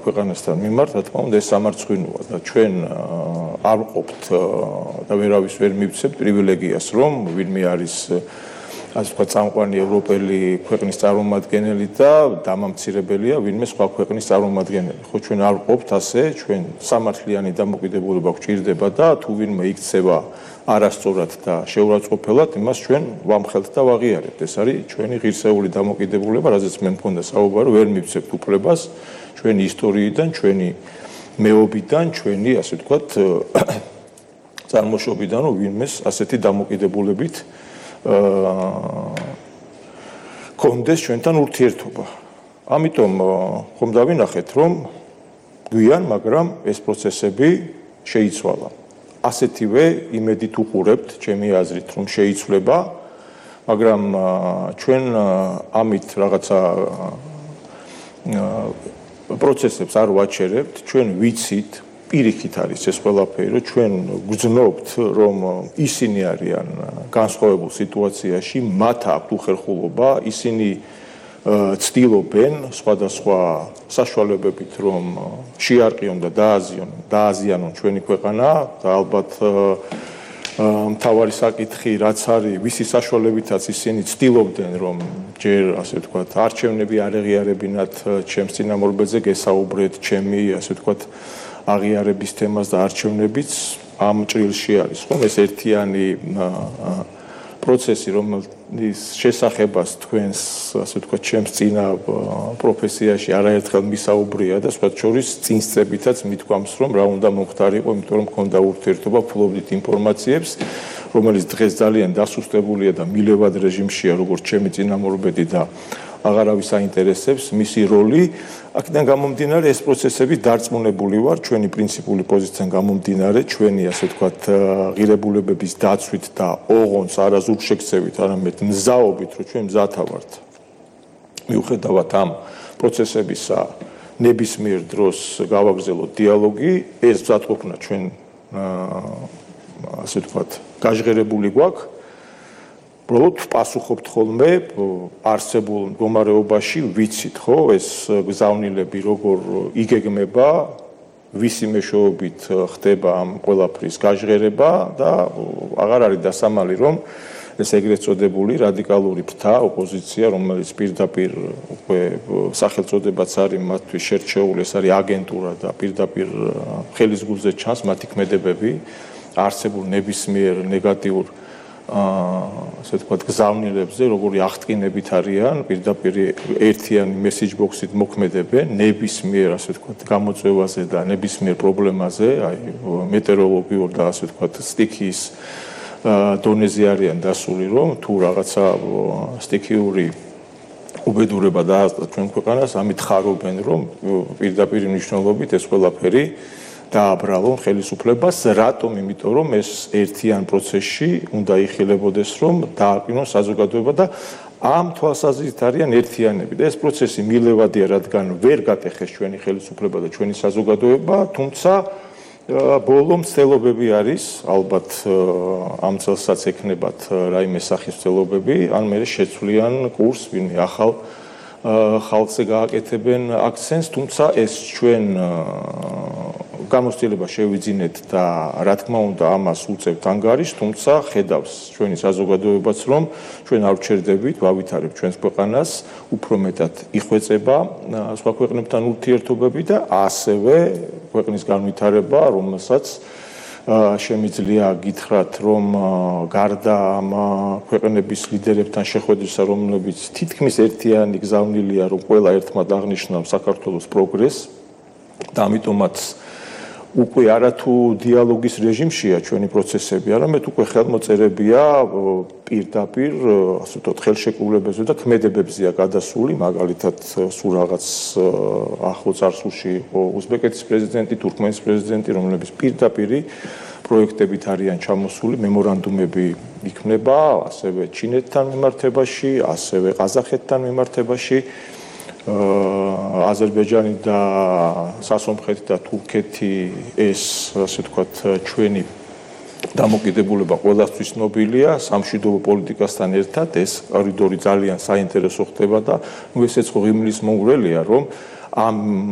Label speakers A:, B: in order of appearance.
A: ქვეყანასთან მიმართ, რა თქმა უნდა, ეს სამარცხვინოა და ჩვენ არ ვყოფთ და ვერავის ვერ მივცემთ პრივილეგიას, რომ ვინმე არის ასე ვთქვათ, წამყვანი ევროპელი ქვეყნის წარმომადგენელი და დამამცირებელია ვინმე სხვა ქვეყნის წარმომადგენელი. ხო, ჩვენ არ ვყოფთ ასე, ჩვენ სამართლიანი დამოკიდებულება გვჭირდება და თუ ვინმე იქცევა არასწორად და შეურაცხყოფელად, იმას ჩვენ ვამხელთ და ვაღიარებთ. ეს არის ჩვენი ღირსეული დამოკიდებულება, რაზეც მე მქონდა საუბარი, ვერ მივცემთ უფლებას ჩვენი ისტორიიდან, ჩვენი მეობიდან, ჩვენი, ასე ვთქვათ, წარმოშობიდან, რომ ვინმეს ასეთი დამოკიდებულებით კონდეს ჩვენთან ურთიერთობა. ამიტომ ხომ დავინახეთ, რომ გვიან, მაგრამ ეს პროცესები შეიცვალა. ასეთივე იმედით უყურებთ, ჩემი აზრით, რომ შეიცვლება, მაგრამ ჩვენ ამით რაღაცა პროცესებს არ ვაჩერებთ, ჩვენ ვიცით, პირიქით არის ეს ყველაფერი, რომ ჩვენ გვძნობთ, რომ ისინი არიან განსხვავებულ სიტუაციაში, მათ აქვთ უხერხულობა, ისინი ცდილობენ სხვადასხვა საშუალებებით, რომ შეარყიონ და დააზიანონ ჩვენი ქვეყანა და ალბათ მთავარი საკითხი რაც არის, ვისი საშუალებითაც ისინი ცდილობდნენ, რომ ჯერ ასე ვთქვათ, არჩევნები არ ეღიარებინათ ჩემს წინამორბედზე გესაუბრეთ, ჩემი ასე ვთქვათ, აღიარების თემას და არჩევნებიც ამ ჭრილში არის, ხომ? ეს ერთიანი პროცესი, რომელიც შესახებას თქვენს, ასე ვთქვათ, ჩემს წინა პროფესიაში არაერთხელ მისაუბრია და სხვა შორის წინსწრებითაც მithქვამს, რომ რა უნდა მომხდარიყო, იმიტომ რომ მქონდა ურთიერთობა, ფლობდით ინფორმაციებს, რომელიც დღეს ძალიან დასუსტებულია და მილევად რეჟიმშია, როგორც ჩემი წინამორბედი და აღარავის აინტერესებს მისი როლი. აქედან გამომდინარე, ეს პროცესები დარწმუნებული ვარ, ჩვენი პრინციპული პოზიციიდან გამომდინარე, ჩვენი ასე ვთქვათ, ღირებულებების დაცვით და ოღონდ არა ზურგშექცევით, არამედ მზაობით, რომ ჩვენ მზათა ვართ. მიუხედავად ამ პროცესებისა, ნებისმიერ დროს გავაგრძელოთ დიალოგი, ეს მზადყოფნა ჩვენ ასე ვთქვათ, გაჟღერებული გვაქვს. უბრალოდ პასუხობთ ხოლმე არსებულ მდგომარეობაში, ვიცით, ხო, ეს გზავნილები როგორ იგეგმება, ვისი მეშვეობით ხდება ამ ყველაფრის გაჟღერება და აღარ არის დასამალი, რომ ეს ეგრეთ წოდებული რადიკალური ფრთა ოპოზიცია, რომელიც პირდაპირ უკვე სახელწოდებაც არის მათთვის შერჩეული, ეს არის აგენტურა და პირდაპირ ხელის გულზე ჩანს მათი ქმედებები, არსებულ ნებისმიერ ნეგატიურ ასე ვთქვათ, გზავნილებზე, როგორი აღტკინებით არიან, პირდაპირ ერთიანი მესეჯ ბოქსით მოქმედებენ ნებისმიერ, ასე ვთქვათ, გამოწვევაზე და ნებისმიერ პრობლემაზე, აი მეტეოროლოგიურ და ასე ვთქვათ, სტიქიის დონეზე არიან დასული, რომ თუ რაღაცა სტიქიური უბედურება დაასწრა ჩვენ ქვეყანას, ამით ხარობენ, რომ პირდაპირ მნიშვნელობით ეს ყველაფერი დააბრალონ ხელისუფლებას, რატომ? იმიტომ რომ ეს ერთიან პროცესში უნდა იხილებოდეს, რომ დააყენონ საზოგადოება და ამ თვალსაზრისით არიან ერთიანები და ეს პროცესი მილევადია, რადგან ვერ გატეხეს ჩვენი ხელისუფლება და ჩვენი საზოგადოება, თუმცა ბოლო მცდელობები არის, ალბათ ამ წელსაც ექნებათ რაიმე სახის მცდელობები, ან მე შეცვლიან კურსს, ვინმე ახალ ხალხზე გააკეთებენ აქცენტს, თუმცა ეს ჩვენ გამოცდილება შევიძინეთ და რა თქმა უნდა ამას უწევთ ანგარიშს, თუმცა ხედავს ჩვენი საზოგადოებაც, რომ ჩვენ არ ვჩერდებით, ვავითარებთ ჩვენს ქვეყანას, უფრო მეტად იხვეწება სხვა ქვეყნებთან ურთიერთობები და ასევე ქვეყნის განვითარება, რომელსაც შემიძლია გითხრათ, რომ გარდა ამ ქვეყნების ლიდერებთან შეხვედრისა, რომლებიც თითქმის ერთიანი გზავნილია, რომ ყველა ერთმად აღნიშნავს საქართველოს პროგრესს და ამიტომაც უკვე არათუ დიალოგის რეჟიმშია ჩვენი პროცესები, არამედ უკვე ხელმოწერებია პირდაპირ, ასე ვთქვათ, ხელშეკრულებებზე და ქმედებებზეა გადასული, მაგალითად, სულ რაღაც ახლო წარსულში იყო უზბეკეთის პრეზიდენტი, თურქმენის პრეზიდენტი, რომლებიც პირდაპირი პროექტებით არიან ჩამოსული, მემორანდუმები იქმნება, ასევე ჩინეთთან მიმართებაში, ასევე ყაზახეთთან მიმართებაში. აზერბაიჯანი და სასომხეთი და თურქეთი ეს ასე ვთქვათ ჩვენი დამოკიდებულება ყველასთვის ცნობილია სამშვიდობო პოლიტიკასთან ერთად ეს კორიდორი ძალიან საინტერესო ხდება და ესეც ღიმლის მომგვრელია რომ ამ